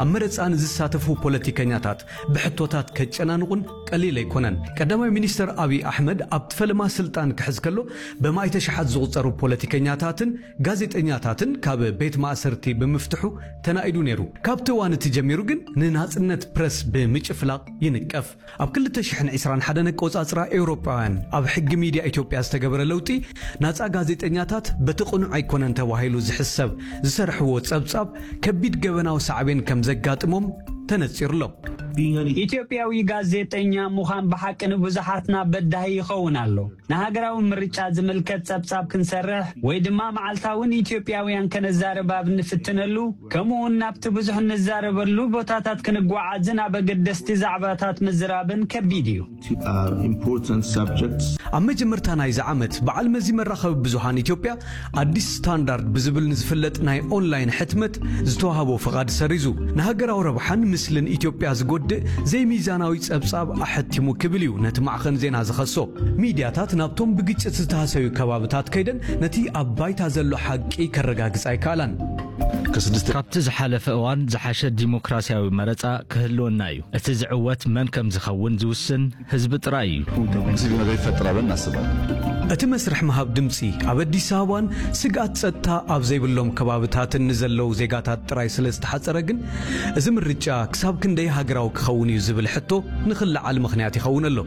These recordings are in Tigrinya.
ኣብ መረጻ ንዝሳተፉ ፖለቲከኛታት ብሕቶታት ከጨናንቑን ቀሊል ኣይኮነን። ቀዳማይ ሚኒስተር ኣብይ ኣሕመድ ኣብቲ ፈለማ ስልጣን ክሕዝ ከሎ፣ በማእተ ሸሓት ዝቑጸሩ ፖለቲከኛታትን ጋዜጠኛታትን ካብ ቤት ማእሰርቲ ብምፍትሑ ተናኢዱ ነይሩ። ካብቲ እዋን እቲ ጀሚሩ ግን ንናጽነት ፕረስ ብምጭፍላቕ ይንቀፍ። ኣብ ክልተ ሽሕን ዕስራን ሓደን ኣቆጻጽራ ኤውሮጳውያን ኣብ ሕጊ ሚድያ ኢትዮጵያ ዝተገበረ ለውጢ፣ ናጻ ጋዜጠኛታት በቲ ቅኑዕ ኣይኮነን ተባሂሉ ዝሕሰብ ዝሰርሕዎ ጸብጻብ ከቢድ ገበናዊ ሳዕቤን ከም ዘጋጥሞም ተነጺሩሎም። ኢትዮጵያዊ ጋዜጠኛ ምዃን ብሓቂ ንብዙሓትና በዳሂ ይኸውን ኣሎ። ንሃገራዊ ምርጫ ዝምልከት ጸብጻብ ክንሰርሕ ወይ ድማ መዓልታውን ኢትዮጵያውያን ከነዛርብ ኣብ እንፍትነሉ፣ ከምኡውን ናብቲ ብዙሕ እንዛረበሉ ቦታታት ክንጓዓዝን ኣብ ኣገደስቲ ዛዕባታት ምዝራብን ከቢድ እዩ። ኣብ መጀመርታ ናይዚ ዓመት፣ በዓል መዚ መራኸቢ ብዙሃን ኢትዮጵያ ኣዲስ ስታንዳርድ ብዝብል ንዝፍለጥ ናይ ኦንላይን ሕትመት ዝተዋህቦ ፍቓድ ሰሪዙ፣ ንሃገራዊ ረብሓን ምስልን ኢትዮጵያ ዝጎድእ ዘይሚዛናዊ ጸብጻብ ኣሐቲሙ ክብል እዩ ነቲ ማዕኸን ዜና ዝኸሶ። ሚድያታት ናብቶም ብግጭት ዝተሃሰዩ ከባብታት ከይደን ነቲ ኣብ ባይታ ዘሎ ሓቂ ከረጋግጻ ኣይከኣላን። ካብቲ ዝሓለፈ እዋን ዝሓሸ ዲሞክራሲያዊ መረጻ ክህልወና እዩ። እቲ ዝዕወት መን ከም ዝኸውን ዝውስን ህዝቢ ጥራይ እዩ። እቲ መስርሕ ምሃብ ድምጺ ኣብ ኣዲስ ኣበባን ስግኣት ጸጥታ ኣብ ዘይብሎም ከባብታትን ንዘለዉ ዜጋታት ጥራይ ስለ ዝተሓጸረ ግን፣ እዚ ምርጫ ክሳብ ክንደይ ሃገራዊ ክኸውን እዩ ዝብል ሕቶ ንኽለዓል ምኽንያት ይኸውን ኣሎ።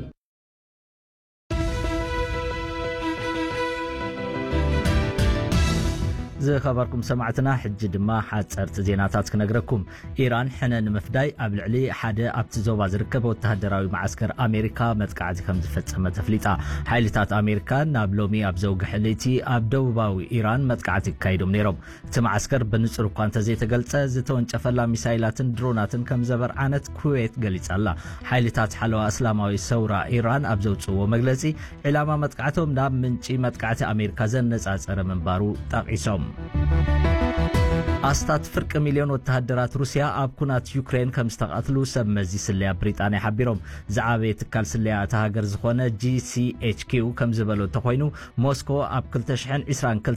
ዝኸበርኩም ሰማዕትና፣ ሕጂ ድማ ሓጸርቲ ዜናታት ክነግረኩም። ኢራን ሕነ ንምፍዳይ ኣብ ልዕሊ ሓደ ኣብቲ ዞባ ዝርከብ ወተሃደራዊ መዓስከር ኣሜሪካ መጥቃዕቲ ከም ዝፈጸመት ኣፍሊጣ። ሓይልታት ኣሜሪካ ናብ ሎሚ ኣብ ዘውግሐ ለይቲ ኣብ ደቡባዊ ኢራን መጥቃዕቲ ኣካይዶም ነይሮም። እቲ መዓስከር ብንጹር እኳ እንተዘይተገልጸ፣ ዝተወንጨፈላ ሚሳይላትን ድሮናትን ከም ዘበርዓነት ኩዌት ገሊጻ ኣላ። ሓይልታት ሓለዋ እስላማዊ ሰውራ ኢራን ኣብ ዘውጽእዎ መግለጺ፣ ዒላማ መጥቃዕቶም ናብ ምንጪ መጥቃዕቲ ኣሜሪካ ዘነጻጸረ ምንባሩ ጠቒሶም። ኣስታት ፍርቂ ሚልዮን ወተሃደራት ሩስያ ኣብ ኩናት ዩክሬን ከም ዝተቐትሉ ሰብ መዚ ስለያ ብሪጣንያ ሓቢሮም። ዝዓበየ ትካል ስለያ እታ ሃገር ዝኾነ ጂ ሲ ኤች ኪው ከም ዝበሎ እንተኾይኑ፣ ሞስኮ ኣብ ክልተ ሽሕን ዕስራን ክልተን